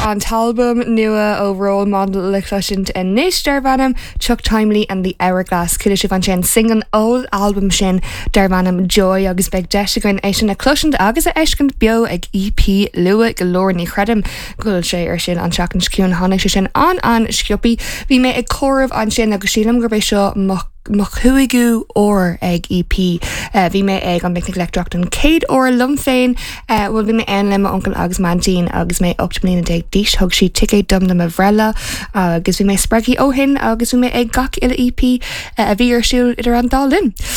Tá an t-albam nua ó Role Model le cloisint anois darb ainm Chuck Timely and the Hourglass. Chuala sibh ansin singil ón albam sin darb ainm Joy agus beidh deis againn é sin a chloisint agus a fheiscint beo ag EP luath go leor. Ní chreidim go bhfuil sé ar siúl an tseachtain seo chugainn. Tháinig sé sin an-an-sciobthaí. Bhí mé ag comhaireamh ansin agus sílim gurb é seo mo mo chúigiú uair ag EP. Bhí mé ag an bPicnic Leictreach don chéad uair liom féin, bhuel bhí mé ann le m'uncail agus m'aintín agus mé 18 mbliana d'aois. Thug siad ticéad dom do mo bhreithlá agus bhí mé spreagtha ó shin agus bhí mé ag gach uile EP a bhí ar siúl idir an dá linn.